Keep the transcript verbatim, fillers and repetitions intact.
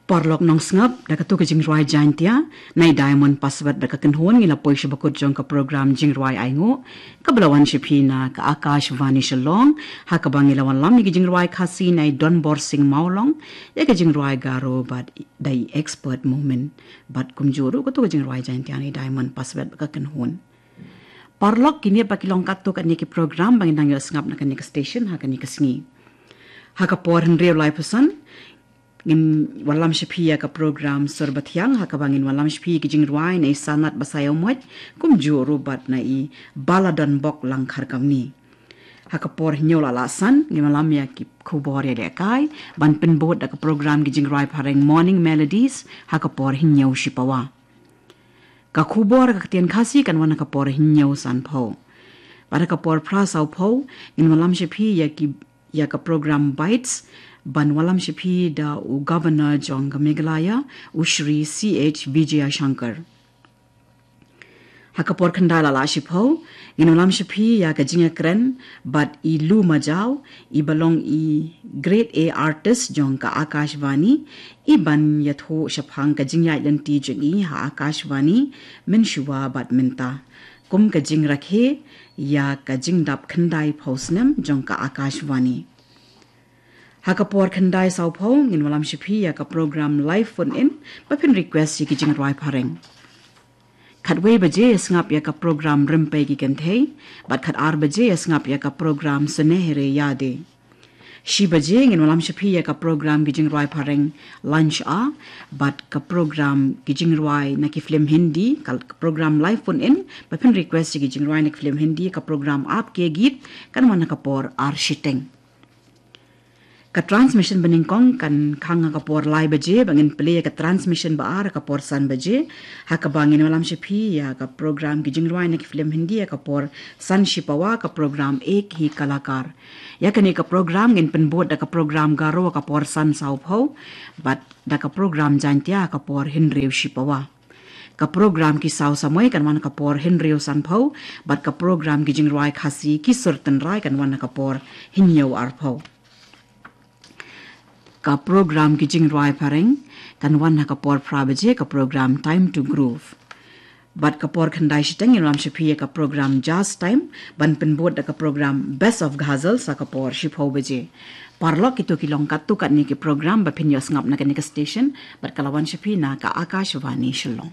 Paralok nongsngap, da katu ka jingrwai Jaintia na i Diamond Password da ka kynhun ngi la poi sha bakut jong ka program jingrwai ainguh kaba la wan sha phi na ka Akashvani Shillong, ha kaba ngi la wanlam ïa ka jingrwai Khasi na i Donbor Singh Mawlong, ïa ka jingrwai Garo bad da i Expert Momin, bad kumjuh ruh katu ka jingrwai Jaintia na i Diamond Password da ka kynhun. Paralok, kine pat ki long katto katne ki program ba ngin nang ïohsngap na kane ka station ha kane ka sngi. Ha ka por hynriew laiphew san ngin wanlam sha phi ïa ka program Sur Bathiang, ha kaba ngin wanlam sha phi ïa ki jingrwai na i Sanat Basaiawmoit, kumjuh ruh bad na i Baladonbok Langkharkamni. Ha ka por hynñiew la lah san ngin wanlam ïa ki khubor ïalehkai, ban pynbud da ka program ki jingrwai phareng Morning Melodies ha ka por hynñiew shipawa. Ka khubor ka ktien Khasi kan wan ha ka por hynñiew sanphew. Bad ha ka por phra sawphew ngin wanlam sha phi ïa ki, ïa ka program Bites, ban wanlam sha phi da u Governor jong ka Meghalaya, u Shri C H Vijayashankar. Ha ka por khyndai la lah shiphew ngin wanlam sha phi ïa ka jingïakren bad i Lu Majaw, iba long i Grade A artist jong ka Akashvani, iban ïathuh shaphang ka jingïaid lynti jong i ha Akashvani mynshuwa bad mynta, kum ka jingrakhe ïa ka jingdap khyndaiphew snem jong ka Akashvani. Ha ka por khyndai sawphew ngin wanlam sha phi ïa ka program Live Phone In, ba phin request ïa ki jingrwai phareng. Khatwei baje ïa sngap ïa ka program Rympei ki Kynthei, bad khatar baje ïa sngap ïa ka program Sunehri Yaadein. Shi baje ngin wanlam sha phi ïa ka program ki jingrwai phareng Lunch Hour, bad ka program ki jingrwai na ki film Hindi, ka program Live Phone In, ba phin request ïa ki jingrwai na ki film Hindi, ka program Aapke Geet kan wan ha ka por ar shiteng. Ka transmission banyngkong kan khang ha ka por lai baje, ba ngin plie ïa ka transmission ba ar ha ka por san baje, ha kaba ngin wanlam sha phi ïa ka program ki jingrwai na ki film Hindi ha ka por san shipawa, ka program Ek Hi Kalakar. Ïa kane ka program ngin pynbud da ka program Garo ha ka por san sawphew, bad da ka program Jaintia ha ka por hynriew shipawa. Ka program Ki Saw Samoi kan wan ha ka por hynriew sanphew, bad ka program ki jingrwai Khasi Ki Sur Tynrai kan wan ha ka por hynñiew arphew. Ka program ki jingrwai phareng kan wan ha ka por phra baje, ka program Time to Groove. Bad ka por khyndai shiteng ngin wanlam sha phi ïa ka program Jazz Time, ban pynbud da ka program Best of Ghazals ha ka por shiphew baje. Paralok, kito ki long katto katne ki program ba phin ïohsngap na kane ka station, bad ka la wan sha phi na ka Akashvani Shillong.